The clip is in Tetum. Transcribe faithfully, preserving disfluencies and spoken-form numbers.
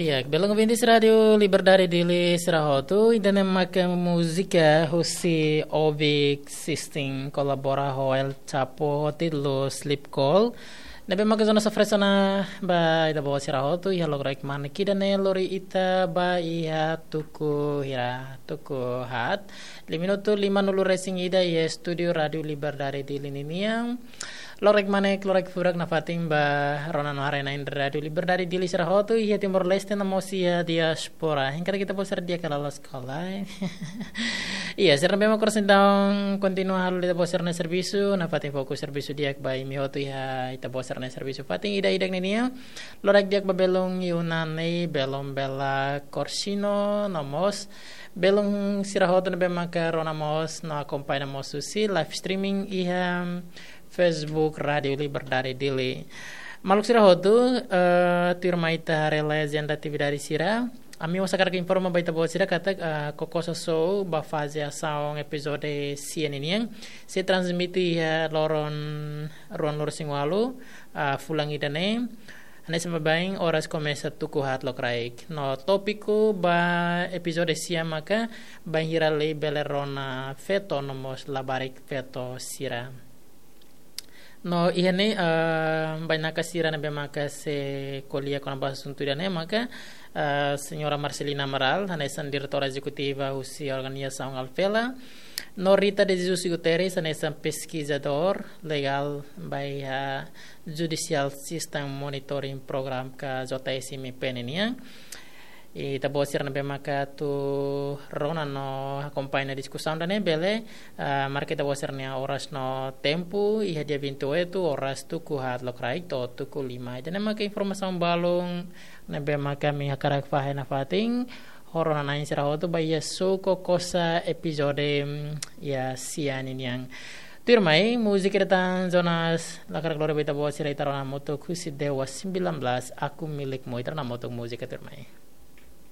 Ya, belun ouvintes Rádiu Liberdade Dili sira hotu, ida-ne'e maka múzika husi Obic System kolabora ho El Chapo, ho títulu Sleep Call. Ne'ebé maka zona sofresona ba ita-boot sira hotu, iha loraik mane ida-ne'e lori ita ba iha tuku hira, tuku haat. Lima minutu limanulu resin ida iha estúdiu Rádiu Liberdade Dili ninian. Loraik mane, loraik furak nafatin ba rona no haree-na'in Rádiu Liberdade Dili sira hotu iha Timor-Leste no mós iha diáspora. Hengkara ita-boot sira di'ak ka la'o sekolah. Iya, sira ne'ebé mak oras entaun kontinua halo ita-boot sira-nia servisu, nafatin fokus servisu di'ak ba imi hotu iha ita-boot sira-nia servisu fatin ida-idak ninian. Loraik di'ak ba belun Yunani, belun Bela Corsino, no mós belun sira hotu ne'ebé maka rona mós no akompaña mós husi live streaming iha Facebook Rádiu Liberdade Dili. Maluk sira hotu, eh, tuirmai ita haree lai ajenda atividade sira. Ami mós hakarak informa ba ita-boot sira katak, eh, Kokosa Show ba faze asaun epizódiu sia ninian sei transmite iha loron ruanulu resin ualu, eh, fulan ida-ne'e. Hanesan baibain oras komesa tuku haat lokraik. No tópiku ba epizódiu sia maka bainhira lei bele rona feto no mós labarik feto sira. No iha ne'e, eh, bainaka sira ne'ebé maka sei ko'alia kona-ba asuntu ida-ne'e maka, eh, Señora Marcelina Amaral, hanesan diretora ezekutiva husi organizasaun Alfela, no Rita de Jesus Guterres, hanesan peskizadór legál ba iha Judicial System Monitoring Program ka J S M P ninian. Ita-boot sira ne'ebé maka atu rona no akompaña diskusaun ida-ne'e bele, ah, marka ita-boot sira-nia oras no tempu iha dia vinte e oito oras tuku haat lokraik to'o tuku lima. Ida-ne'e maka informasaun balun ne'ebé maka ami hakarak fahe nafatin ho rona-na'in sira hotu ba iha Show Kokosa epizódiu, mm, iha sia ninian. Tuirmai, múzika ida tan Jonas Lakar Gloria ba ita-boot sira, ita rona hamutuk husi Dewa sembilan belas, Aku Milikmu, ita rona hamutuk múzika tuirmai.